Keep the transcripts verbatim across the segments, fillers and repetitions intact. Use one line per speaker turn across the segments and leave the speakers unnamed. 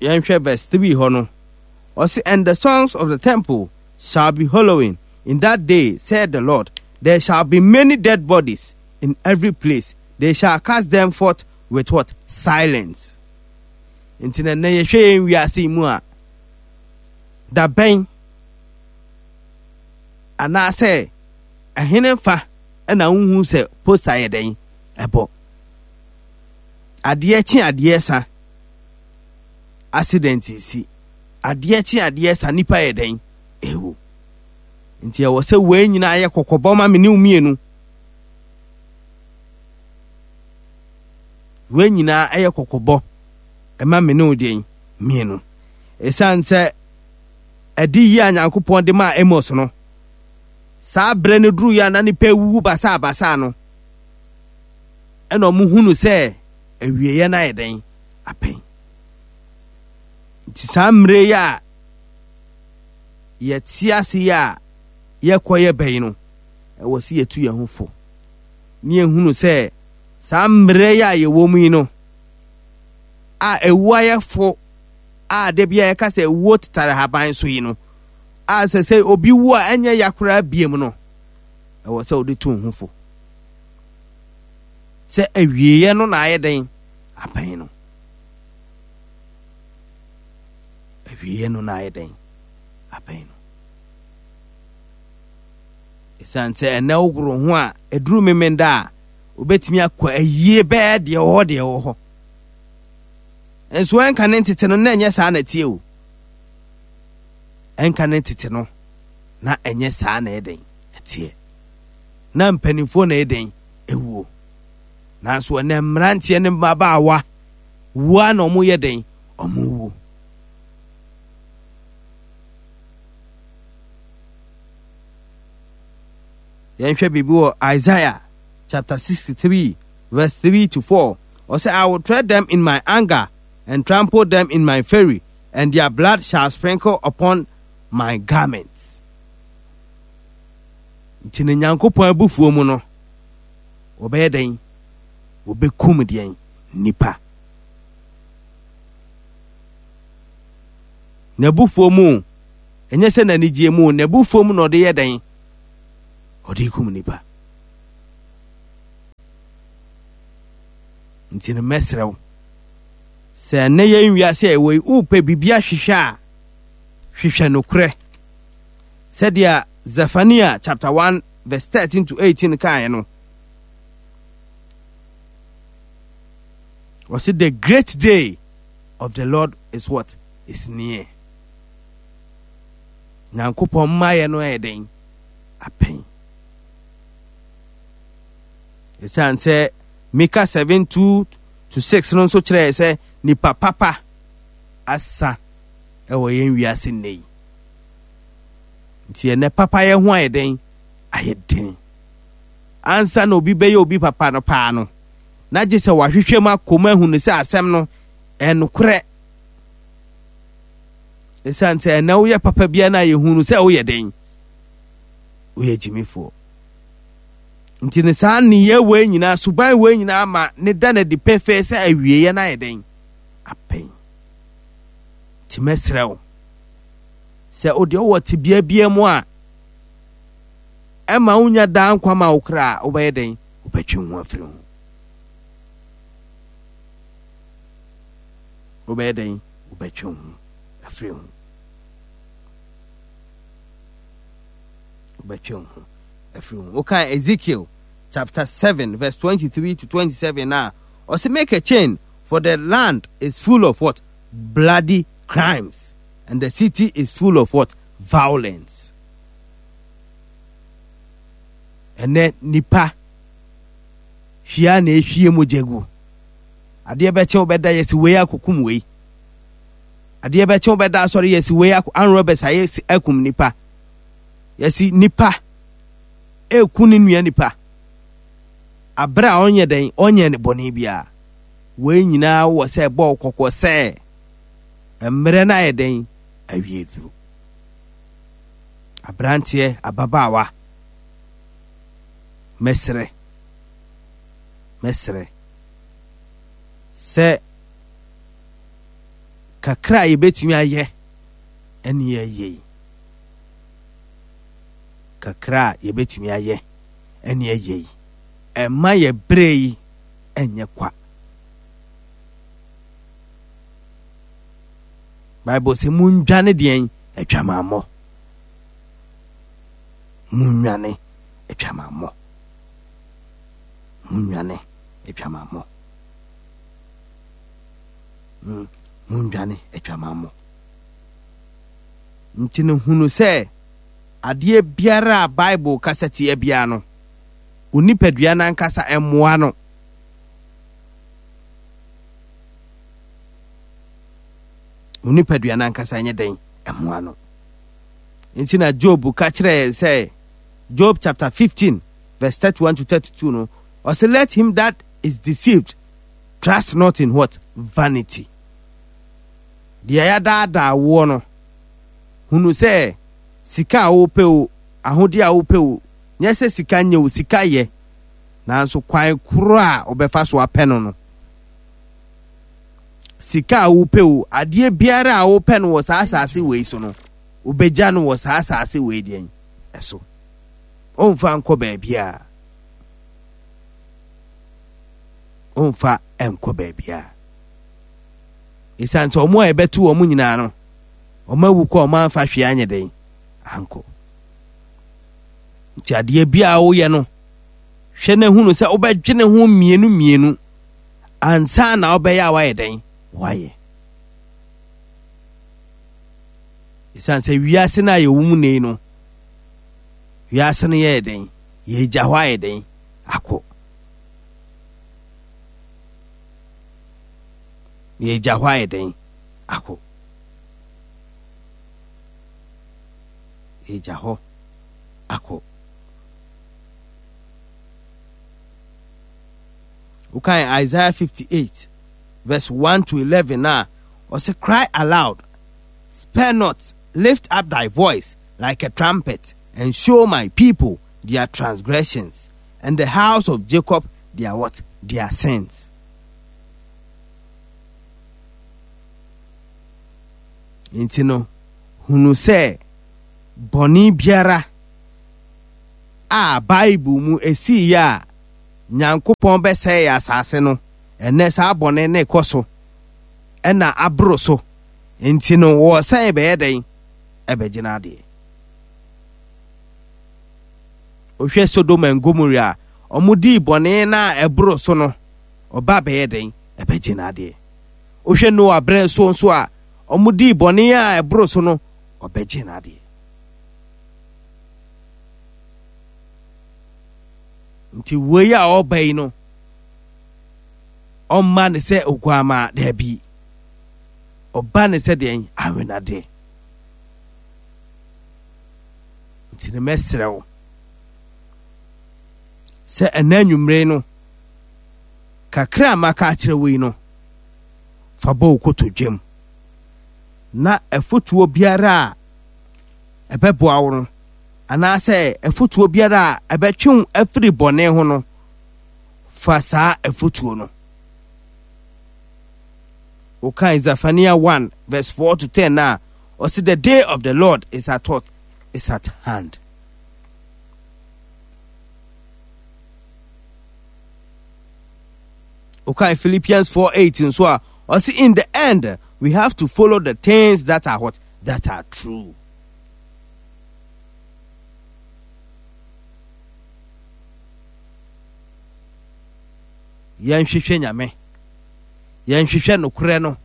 Yɛnhwɛ verse three hɔ no. Ɔse, and the songs of the temple shall be hollowing in that day, said the Lord. There shall be many dead bodies in every place. They shall cast them forth with what? Silence. Nti na nnɛ yɛhwɛ yɛn wiase yi mu a, da bɛn anaasɛ ɛhene fa ɛna wohu sɛ poster yɛ dɛn ɛbɔ adeɛ kye adeɛ sa accident si adeɛ kye adeɛ sa nipa yɛ dɛn ewu. Nti ɛwɔ sɛ wei nyinaa yɛ kɔkɔbɔ ma me ne wo mmienu. Wei nyinaa ɛyɛ kɔkɔbɔ ɛma me ne wo deɛn mmienu. Ɛsiane sɛ ɛde yi a Nyankopɔn de maa Amos no, saa berɛ no duru yɛ a na nipa awuwu basaa basaa no, ɛna ɔmo hunu sɛ awieeɛ no ayɛ dɛn apɛn. Nti saa mmerɛ yi a yɛte ase yi a yɛkɔ yɛ bɛyi no, ɛwɔ sɛ yɛtu yɛn ho fo ne yɛhunu sɛ saa mmerɛ yi a yɛwɔ mu yi no a ɛwu ayɛ fo a da bi a yɛka sɛ ɛwuo tetare haban so yi no, a sɛ sɛ obi wu a ɛnyɛ ya koraa biem no, ɛwɔ sɛ wode tu ho fo sɛ awieeɛ no na ayɛ dɛn apɛn no. Awieeɛ no na ayɛ dɛn apɛn no. Ɛsiane sɛ ɛnɛ wogoro ho a ɛduru memenda a wobɛtumi akɔ ayie bɛɛ deɛ wɔ hɔ deɛ wɔ hɔ. Nso ɛnka ne ntete no na ɛnyɛ saa na ɛteɛ o. Ɛnka ne ntete no na ɛnyɛ saa na ɛdɛn ɛteɛ. Na mpanimfoɔ na ɛdɛn ɛwuo. Nanso ɛnɛ mmeranteɛ ne mmabaawa wua na ɔmo yɛ dɛn ɔmo wu. Yɛnhwɛ biribi wɔ Isaiah chapter sixty-three verse three to four. Ɔsɛ, I will tread them in my anger and trample them in my fury, and their blood shall sprinkle upon my garments. Nti ne Nyankopɔn abufuo mu no, wɔbɛyɛ dɛn? Wɔbɛkum deɛn? Nipa. N'abufuo mu, ɛnyɛ sɛ n'anigyeɛ mu, n'abufuo mu na ɔde yɛ dɛn? Ɔde kum nipa. Nti no mɛsrɛ wo sɛ ɛnnɛ yɛn wiase a ɛwɔ yi, wopɛ biribi ahwehwɛ a, hwehwɛ nokorɛ. Sɛdeɛ Zephaniah chapter one verse thirteen to eighteen kaeɛ no, ɔse the great day of the Lord is what? Is near. Nyankopɔn mmaeɛ no ɛyɛ dɛn? Apɛn. Ɛsiane sɛ Mika seven two to six no nso kyerɛɛ sɛ nipa papa asa ɛwɔ yɛn wiase nnɛ yi. Nti ɛnɛ papayɛ ho ayɛ dɛn? Ayɛ den. Ansa na obi bɛyɛ obi papa no paa no, na gye sɛ wahwehwɛ mu akɔ mu ahu no sɛ asɛm no ɛnokorɛ. Ɛsiane sɛ ɛnɛ woyɛ papa biara na yɛhu no sɛ woyɛ dɛn? Woyɛ gyimifoɔ. Nti ne saa nneyɛɛ wei nyinaa, suban wei nyinaa ma ne da no adi pefee sɛ awieeɛ no ayɛ dɛn? Apɛn. Nti mɛsrɛ wo sɛ wo deɛ wowɔ tebea biara mu a ɛma wonya daa nkwa ma wo kra a, wobɛyɛ dɛn? Wobɛtwe ho afiri ho. Wobɛyɛ dɛn? Wobɛtwe ho afiri ho. Wobɛtwe ho afiri ho. Wokan Ezekiel chapter seven verse twenty-three to twenty-seven na ɔsɛ make a chain, for the land is full of what? Bloody crimes, and the city is full of what? Violence. Ɛnɛ nipa hwia na ehwie mogya gu. Adeɛ bɛkyɛ wobɛda yɛsi wei akokum wei. Adeɛ bɛkyɛ wobɛda asɔre yɛsi wei akɔ anrɔbɛs ayɛ akum nipa. Yɛsi nipa eku ne nua nipa. Abere a ɔnyɛ dɛn ɔnyɛ ne bɔne biara. Wei nyinaa wɔ sɛ ɛbɔ kɔkɔ sɛ mmerɛ no ayɛ dɛn awie duro. Aberanteɛ, ababaawa, mɛsrɛ, mɛsrɛ sɛ Kakra a yɛbɛtumi ayɛ ɛne yɛyɛ yi. Kakra a yɛbɛtumi ayɛ ɛne yɛyɛ yi. Ɛmma yɛ berɛ yi ɛnyɛ kwa. Bible sɛ mundwane deɛn adwamammɔ. Munnwane adwamammɔ. Munnwane adwamammɔ. Mm, mundwane adwamammɔ. Nti no hunu sɛ adeɛ biara a Bible kasa tia biara no, wo nipadua no ankasa mmoa no. Wo nipadua no ankasa nyɛ dɛn mmoa no. Nti na Job ka kyerɛ yɛn sɛ, Job chapter fifteen verse thirty-one to thirty-two no, ɔsɛ let him that is deceived trust not in what? Vanity. Deɛ yɛadaadaa woɔ no, hunu sɛ sika a wopɛ o, ahodeɛ a wopɛ o, nyɛ sɛ sika nyɛ o, sika yɛ. Nanso kwan koro a wobɛfa so apɛ no no, sika a wopɛ o, adeɛ biara a wopɛ no wɔ saa asase wei so no, wobɛgya no wɔ saa asase wei deɛn ɛso. Ɔmfa nkɔ baabiara. Ɔmfa nkɔ baabiara. Ɛsiane sɛ ɔmo a yɛbɛto wɔn nyinaa no, ɔmo awu kɔ, ɔmo amfa hwee anyɛ dɛn ankɔ. Nti adeɛ biara a woyɛ no, hwɛ na hunu sɛ wobɛdwene ho mmienu mmienu ansa na wobɛyɛ a woayɛ dɛn woayɛ. Ɛsiane sɛ wiase no a yɛwɔ mu nnɛ yi no, wiase no yɛyɛ dɛn, yɛgya hɔ ayɛ dɛn akɔ. Yɛgya hɔ ayɛ dɛn akɔ. Yɛgya hɔ akɔ. Wokan Isaiah fifty-eight verse one to eleven a, ɔsɛ cry aloud, spare not, lift up thy voice like a trumpet, and show my people their transgressions, and the house of Jacob their what? Their sins. Nti no, hunu sɛ bɔne biara a Bible mu esii yɛ a Nyankopɔn bɛsɛe asase no, ɛnɛ saa bɔne ne kɔ so ɛna aboro so. Nti no, wɔsɛe bɛyɛ dɛn? Ɛbɛgyina adeɛ. Wohwɛ Sodom and Gomorrah a, ɔmo dii bɔne na ɛboro so no, ɔba bɛyɛ dɛn? Ɛbɛgyina adeɛ. Wohwɛ Noah berɛ so nso a, ɔmo dii bɔne a ɛboro so no, ɔbɛgyina adeɛ. Nti wei a ɔba yi no, ɔmma ne sɛ oguama daabi. Ɔba ne sɛ deɛn? Awenade. Nti ne mɛsrɛ wo sɛ ɛnɛ anwummere no, kakra a maka akyerɛ wo yi no, fa bɔ wo kotodwam. Na afotuo biara a ɛbɛboa wo no, anaasɛ afotuo biara a ɛbɛtwe wo afiri bɔne ho no, fa saa afotuo no. Wokan Zephaniah one verse four to ten na ɔsi the day of the Lord is at what? Is at hand. Wokan Philippians four eight nso a ɔsi in the end we have to follow the things that are what? That are true. Yɛnhwehwɛ Nyame, yɛnhwehwɛ nokorɛ no,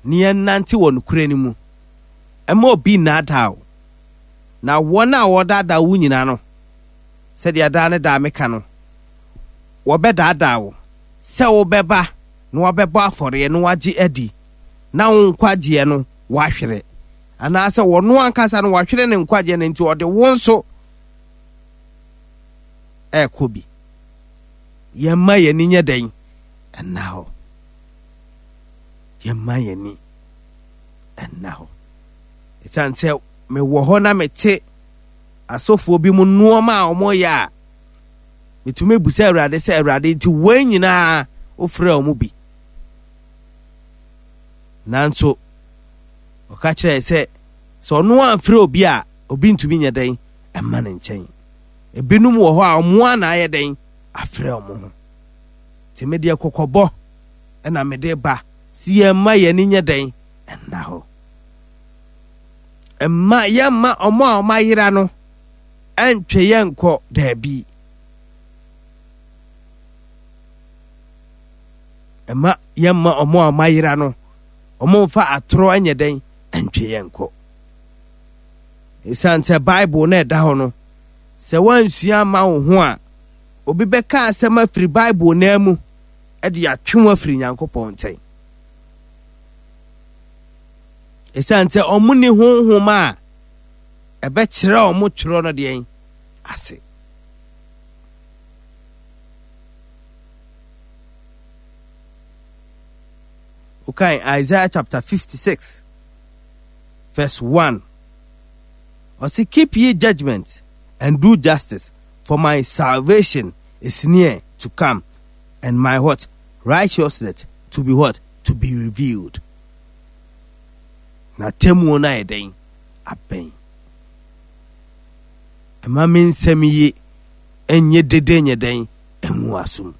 na yɛnnante wɔ nokorɛ no mu. Ɛmma obi nnaadaa wo. Na wɔn a wɔdaadaa wo nyinaa no, sɛdeɛ daa ne daa meka no, wɔbɛdaadaa wo sɛ wobɛba na wɔbɛbɔ afɔreɛ na wɔagye adi, na wo nkwagyeɛ no wɔahwere. Anaasɛ wɔno ankasa no wɔahwere ne nkwagyeɛ no nti ɔde wo nso ɛrekɔ bi. Yɛmma yɛn ani nyɛ dɛn? Ɛnna hɔ. Yɛmma yɛn ani ɛnna hɔ. Ɛsiane sɛ mewɔ hɔ na mete asɔfoɔ bi mu nneɛma a wɔyɛ a, metumi bisa Awurade sɛ, Awurade, nti wɔn nyinaa wofrɛ wɔn bi? Nanso, Ɔka kyerɛɛ sɛ sɛ ɔno amfrɛ obi a, obi ntumi nyɛ dɛn ɛma ne nkyɛn. Ebinom wɔ hɔ a ɔmo a na ayɛ dɛn afrɛ ɔmo ho. Nti me deɛ kɔkɔbɔ ɛna mede ba si yɛn mma yɛn ani nyɛ dɛn ɛnna hɔ. Mma yɛmma ɔmo a ɔmo ayera no ɛntwe yɛn nkɔ daabi. Mma yɛmma ɔmo a ɔmo ayera no ɔmo mfa atorɔ ɛnyɛ dɛn ɛntwe yɛn nkɔ. Esiane sɛ Bible na ɛda hɔ no, sɛ woansua ama wo ho a, obi bɛka asɛm afiri Bible naa mu ɛde atwe wo afiri Nyankopɔn nkyɛn. Esiane sɛ ɔmo ni honhom a ɛbɛkyerɛ ɔmo twerɛ no deɛn ase. Wokan Isaiah chapter fifty-six verse one. Ɔse, keep ye judgment and do justice, for my salvation is near to come, and my what? Righteousness to be what? To be revealed. Na temmuo no ayɛ dɛn? Abɛn. Ɛma me nsɛm yi ɛnyɛ dede nyɛ dɛn? Ɛngu asom.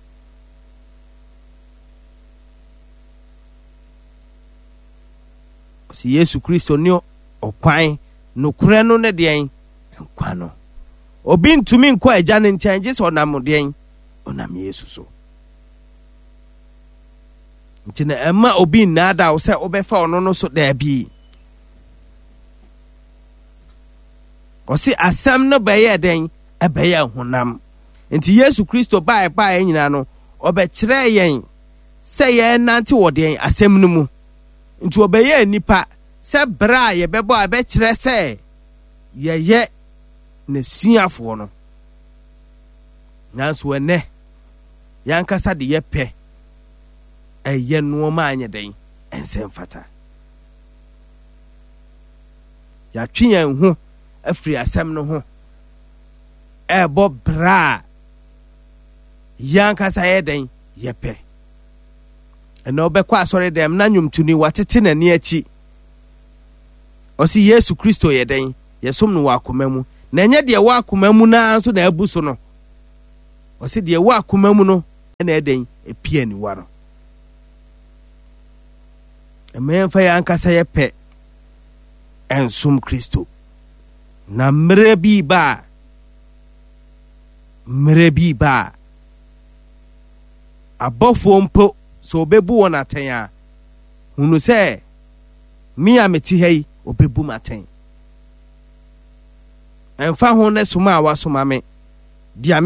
Ɔse Yesu Kristo ne ɔkwan, nokorɛ no ne deɛn? Nkwa no. Obi ntumi nkɔ agya no nkyɛn gye sɛ ɔnam deɛn? Ɔnam Yesu so. Nti na ɛma obi nnaadaa wo sɛ wobɛfa ɔno no so daabi. Ɔse asɛm no bɛyɛ dɛn? Ɛbɛyɛ honam. Nti Yesu Kristo baeɛ baeɛ nyinaa no, ɔbɛkyerɛɛ yɛn sɛ yɛnante wɔ deɛn? Asɛm no mu. Nti ɔbɛyɛɛ nipa sɛ berɛ a yɛbɛbɔ a ɛbɛkyerɛ sɛ yɛyɛ n'asuafoɔ no. Nanso ɛnɛ, yɛankasa de yɛpɛ ɛyɛ nneɛma a ɛnyɛ dɛn? Ɛnsɛ mfata. Yɛatwe yɛn ho afiri asɛm no ho ɛrebɔ bra a yɛankasa yɛ dɛn? Yɛpɛ. Ɛnna ɔbɛkɔ asɔre dɛm na nnwomtoni watete n'ani akyi. Ɔsi Yesu Kristo yɛ dɛn? Yɛsom no wɔ akoma mu. Na ɛnyɛ deɛ wɔ akoma mu naa nso na abu so no. Ɔsi deɛ wɔ akoma mu no ɛna ɛdɛn? Epie aniwa no. Ɛma yɛmfa yɛn ankasa yɛpɛ ɛnsom Kristo. Na mmerɛ bi ba a, mmerɛ bi ba a, abɔfoɔ mpo sɛ ɔbɛbu wɔn atɛn a, hunu sɛ me a mete ha yi, ɔbɛbu m atɛn. Ɛmfa ho ne soma a wasoma me, deɛ